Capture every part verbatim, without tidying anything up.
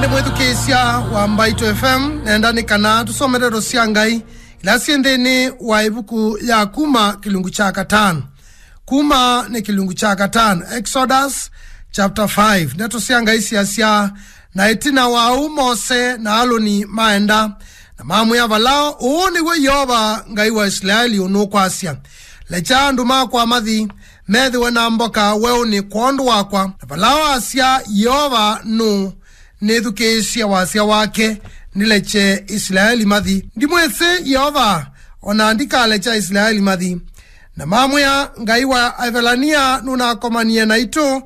Nĩ mwĩthukĩĩsya wa Mbaitũ F M, nenda nĩ kana tũsome ndeto sya Ngai ila syĩ nthĩnĩ wa ĩvuku ya Kuma kĩlungu kya katano. Kuma nĩ kĩlungu kya katano, Exodus chapter five. Ndeto sya Ngai syasya, na ĩtina wa ũu Mose na Aluni maenda, na mamwĩa Valao, "Ũũ nĩw'o Yeova Ngai wa Isilaeli ũnũkwasya, 'Lekya andũ makwa mathi, methĩwe na mboka weũnĩ kwondũ wakwa.'" Na Valao asya, "Yeova nũũ nĩthukĩĩsye wasya wake, nĩlekye Isilaeli mathi? Ndimwĩsĩ Yeova, o na ndikalekya Isilaeli mathi." Na mamwĩa, "Ngai wa Aevelania nũnakomanie naitũ,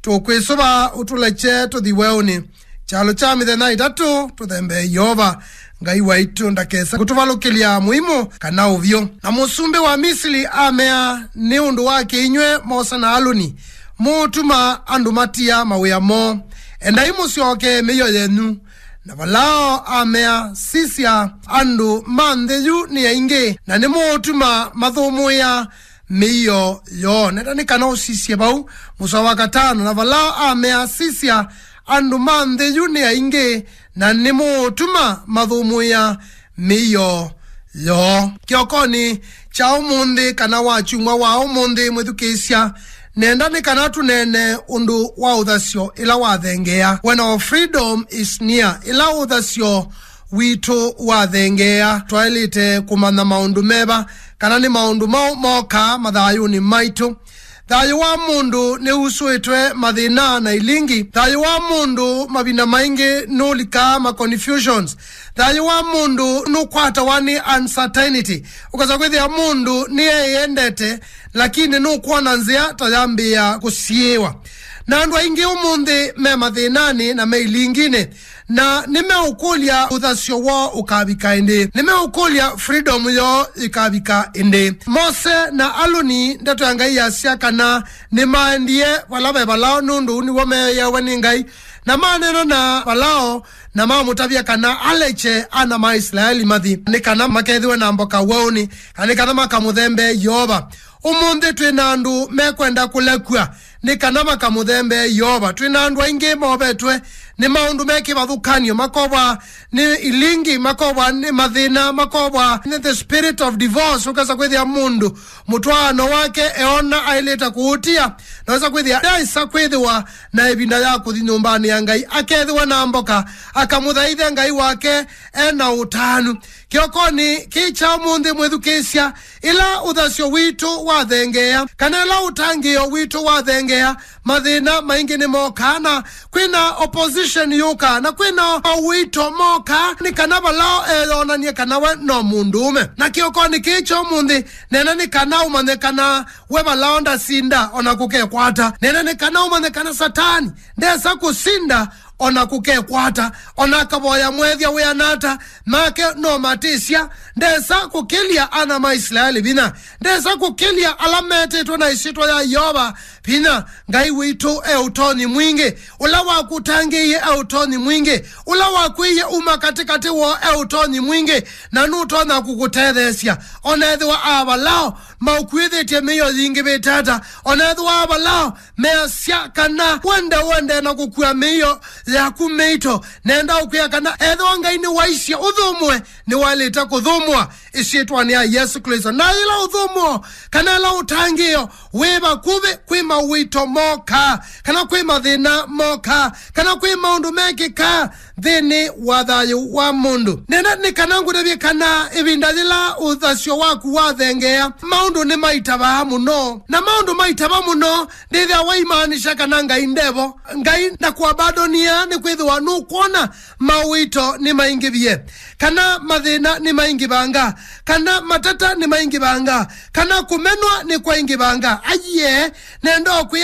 tũkwĩsũva ũtũlekye tũthi weũnĩ. Kyalo kya mĩthenya ĩtatũ tũthembee Yeova Ngai waitũ ndakesa kũtũvalũkĩlya mũimũ kana ũvyũ." Na mũsumbĩ wa Misili amea, "Nĩ ũndũ wa kĩ inyw'ĩ Mose na Aluni mũũtuma andũ matia mawĩa moo? Endai mũsyokee mĩio yenyu." Na Valao amea, "Sisya, andũ ma nthĩ yu nĩ aingĩ, na nĩmũũtuma mathũmũĩa mĩio yoo." Nenda nĩ kana ũsisye vau mũsoa wa katano. Na Valao amea, "Sisya, andũ ma nthĩ yu nĩ aingĩ, na nĩmũũtuma mathũmũĩa mĩio yoo." Kĩokonĩ kya ũmũnthĩ, kana wa kyumwa wa ũmũnthĩ, mwĩthukĩĩsya, nenda nĩ kana tũneene ũndũ wa ũthasyo ĩla wathengeea. When our freedom is near, ĩla ũthasyo witũ wathengeea, twaĩlĩte kũmanya maũndũ meva, kana nĩ maũndũ maũ mokaa mathayũnĩ maitũ. Thayũ wa mũndũ nĩusũĩtwe mathĩna na ilingi. Thayũ wa mũndũ mavinda maingĩ nũlikaa ma confusions. Thayũ wa mũndũ nũkwatawa nĩ uncertainty. Ũkasa kwĩthĩa mũndũ nĩeyendete, lakini nũkwona nzĩa ta yambĩĩa kũsiĩĩwa. Na andũ aingĩ ũmũnthĩ me mathĩnanĩ na me ilinginĩ, na nĩmeũkũlya ũthasyo woo ũkavika ĩndĩ. Nĩmeũkũlya freedom yoo ĩkavika ĩndĩ. Mose na Aluni, ndeto ya Ngai yasya kana nĩmaendie vala ve Valao, nũndũ ũu nĩw'o meeawe nĩ Ngai, na maneena na Valao, na mamũtavya kana alekye ana ma Isilaeli mathi, nĩ kana makethĩwe na mboka weũnĩ, kana nĩ kana makamũthembee Yeova. Ũmũnthĩ twĩ na andũ mekwenda kũlekw'a nĩ kana makamũthembee Yeova. Twĩ na andũ aingĩ movetwe nĩ maũndũ me kĩvathũkany'o, makovwa nĩ ilingi, makovwa nĩ mathĩna, makovwa nĩ the spirit of divorce. Ũkesa kwĩthĩa mũndũ mũtwaano wake eona aĩlĩte kũũtia, na wesa kwĩthĩa ndaĩsa kwĩthĩwa na ĩvinda ya kũthi nyũmbanĩ ya Ngai, akethĩwa na mboka, akamũthaithe Ngai wake e na ũtanu. Kĩokonĩ kĩĩ kya ũmũnthĩ, mwĩthukĩĩsya, ĩla ũthasyo witũ wathengeea, kana ĩla ũtangĩĩo witũ wathengeea, mathĩna maingĩ nĩmokaa, na kwĩna opposition yũkaa, na kwĩna mawĩto mokaa, nĩ kana Valao eyonany'e kana we no mũndũũme. Na kĩokonĩ kĩĩ kya ũmũnthĩ, neena nĩ kana ũmanye kana we Valao ndasinda, ona kũkekwata. Neena nĩ kana ũmanye kana Satani ndesa kũsinda, ona kũkekwata. Ona akavoya mwethya wĩana ata, make no matĩsya, ndesa kũkĩlya ana ma Isilaeli vinya. Ndesa kũkĩlya ala metĩtwe na ĩsyĩtwa ya Yeova vinya. Ngai witũ e ũtonyi mwingĩ. Ũla wakũtangĩĩie e ũtonyi mwingĩ. Ũla wakwĩie uma katĩkatĩ woo e ũtonyi mwingĩ, na nũtonya kũkũtetheesya. Ona ethĩwa Avalao maũkuĩthĩtye mĩio yingĩvĩte ata, ona ethĩwa Avalao measya kana wende wende na kũkua mĩio yaku mĩito, nenda ũkwĩa kana ethĩwa Ngai nĩwaisye ũthũmũe, nĩwaĩlĩte kũthũmũa ĩsyĩtwanĩ ya Yesũ Klĩsto. Na yĩla ũthũmũo kana yĩla ũtangĩĩo wĩ vakuvĩ, kwĩ mawĩto mokaa, kana kwĩ mathĩna mokaa, kana kwĩ maũndũ mekĩkaa nthĩnĩ wa thayũ wa mũndũ. Nenda nĩ kana ngũtavye kana ĩvinda yĩla ũthasyo waku wathengeea, maũndũ nĩmaitavaa mũno. Na maũndũ maitava mũno, ndĩthĩa waimaanisha kana Ngai ndevo. Ngai ndakũabandonia, nĩkwĩthĩwa nũkwona mawĩto nĩmaingĩvie, kana mathĩna nĩmaingĩvanga, kana matata nĩmaingĩvanga, kana kũmenwa nĩkwaingĩvanga. Aiee, nenda ũkwĩa